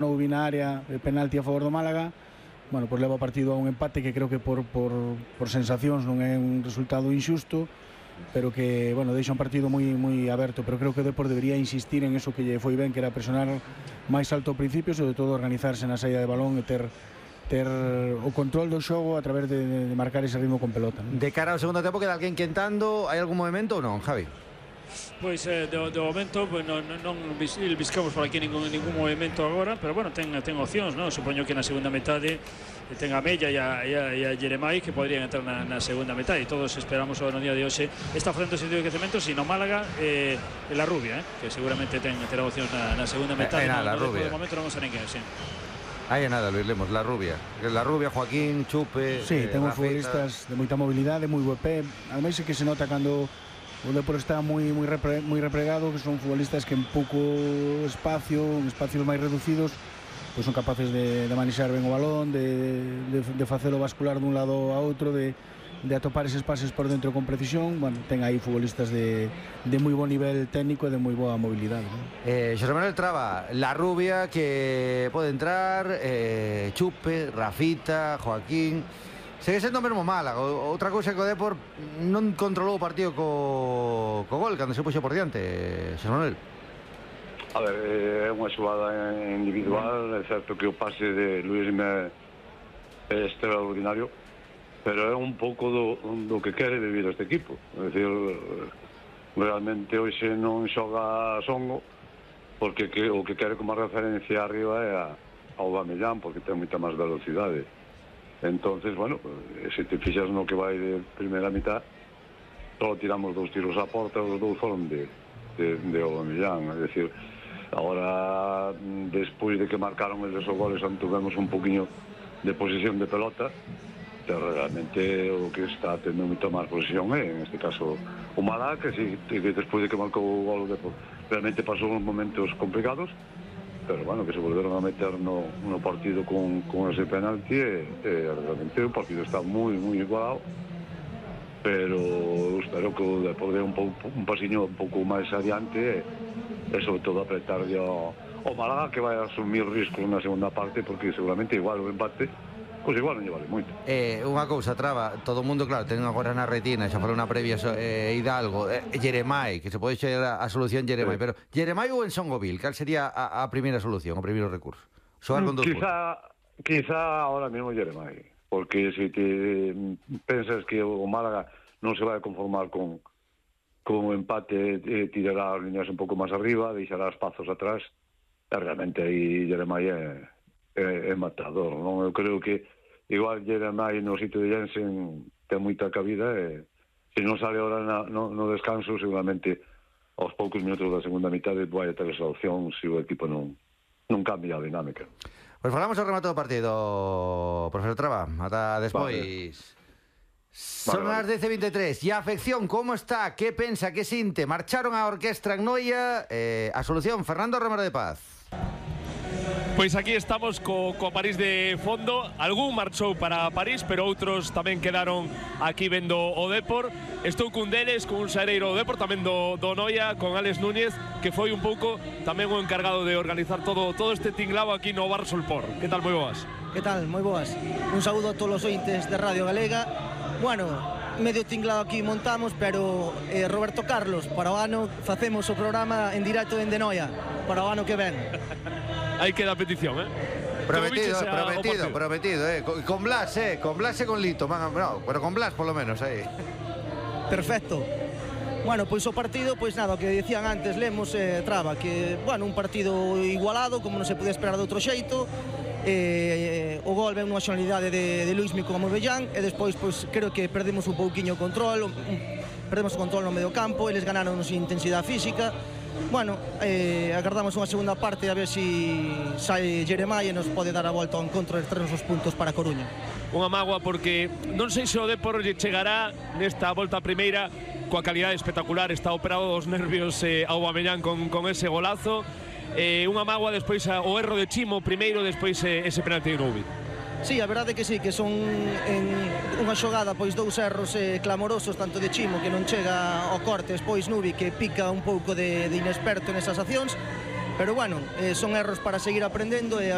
non hubo na área de penalti a favor do Málaga. Bueno, pois leva o partido a un empate que creo que por sensacións non é un resultado injusto, pero que, bueno, deixa un partido moi aberto, pero creo que o Depor debería insistir en eso que lle foi ben, que era presionar máis alto ao principio, sobre todo organizarse na saída de balón e ter o control do xogo a través de marcar ese ritmo con pelota, ¿no? De cara ao segundo tempo, queda alguén quentando? Hai algún movimento ou non, Javi? Pois de momento pues, non buscamos por aquí ningún movimento agora, pero bueno, ten opcións, ¿no? Supoño que na segunda metade ten a Mella e a Jeremai que podrían entrar na segunda metade, e todos esperamos no día de hoxe está facendo sentido de crecemento, sino Málaga e la Rubia, que seguramente terá opcións na segunda metade. La Rubia. De momento non vamos a ninguén, sí. Aí nada, Luis Lemos, La Rubia, Joaquín, Chupe. Sí, ten futbolistas de moita mobilidade, moi bo pé. Ademais é que se nota cando o Depor está moi replegado, que son futbolistas que en pouco espacio, en espacios máis reducidos, pois son capaces de manexar ben o balón, de facelo bascular dun lado a outro, de atopar eses pases por dentro con precisión. Bueno, ten aí futbolistas de moi bo nivel técnico e de moi boa mobilidade, ¿no? Xosé Manuel Traba, La Rubia que pode entrar, Chupe, Rafita, Joaquín. Segue sendo o mesmo Málaga. Outra cousa que o Depor non controlou o partido co gol cando se puxo por diante, Xosé Manuel. A ver, é unha xogada individual, é certo que o pase de Luis é extraordinario, pero é un pouco do que quere vivir este equipo. É dicir, realmente hoxe non xoga Songo, porque o que quere como referencia arriba é a Aubameyang, porque ten moita máis velocidade. Entonces, bueno, se te fixas no que vai de primeira mitad, só tiramos 2 tiros á porta, os 2 foron de Aubameyang. É dicir, agora, despois de que marcaron eles os goles, tuvemos un poquinho de posesión de pelota, pero realmente o que está tendo moita máis posesión é, en este caso, o Málaga, que despois de que marcou o gol, realmente pasou uns momentos complicados, pero bueno, que se volveron a meter no partido con ese penalti, realmente o partido está moi igualado, pero espero que o Depor dé un pasiño un pouco máis adiante e sobre todo apretarlle ao Málaga, que vai asumir riscos na segunda parte, porque seguramente igual o empate pois igual non lle vale moito. Unha cousa, Traba, todo o mundo, claro, ten agora na retina, xa falou na previa Hidalgo, Jeremai, que se pode ser a solución Jeremai, pero Jeremai ou en Songovil, cal sería a primeira solución, o primeiro recurso? Xogar con 2 Quizá ahora mesmo Jeremai, porque se te pensas que o Málaga non se vai conformar con o empate, tirará as líneas un pouco máis arriba, deixará espazos atrás, e realmente aí Jeremai é matador, non? Eu creo que igual Jeremai no sitio de Jensen ten moita cabida, e se non sale ahora no descanso, seguramente aos poucos minutos da segunda mitade vai a ter esa opción se o equipo non cambia a dinámica. Pois falamos ao remate do partido, profesor Traba, ata despois. Son as 10:23 e a afección como está, que pensa, que sinte? Marcharon a orquestra en Noia, a solución, Fernando Romero de Paz. Pois aquí estamos co París de fondo. Algún marchou para París, pero outros tamén quedaron aquí vendo o Depor. Estou cun deles, con un xareiro do Depor, tamén do Noia, con Álex Núñez, que foi un pouco tamén o encargado de organizar todo este tinglao aquí no Bar Solpor. Que tal, moi boas? Que tal, moi boas. Un saúdo a todos os ointes de Radio Galega. Bueno, medio tinglado aquí montamos, pero Roberto Carlos, para o ano facemos o programa en directo en Noia, para o ano que ven. Aí queda a petición, Prometido, con Blas e con Lito, no, pero con Blas polo menos aí. Perfecto. Bueno, pois o partido, pois nada, o que dicían antes Lemos e Traba, que, bueno, un partido igualado, como non se podía esperar de outro xeito. O gol ven unha xonalidade de Luismi con Aubameyang, e despois, pois, creo que perdemos un pouquiño o control, no medio campo, eles ganaron sin intensidade física. Bueno, agardamos unha segunda parte a ver se sai Jeremai e nos pode dar a volta ao encontro e traernos os puntos para Coruña. Unha mágoa porque non sei se o Depor chegará nesta volta primeira coa calidade espectacular, está operado dos nervios Aubameyang con ese golazo. Unha mágoa despois o erro de Chimo primeiro, despois ese penalti de Nubi. Sí, a verdade que sí, que son en unha xogada pois 2 erros clamorosos, tanto de Chimo que non chega ao corte, despois Nubi que pica un pouco de inexperto nesas accións, pero bueno, son erros para seguir aprendendo e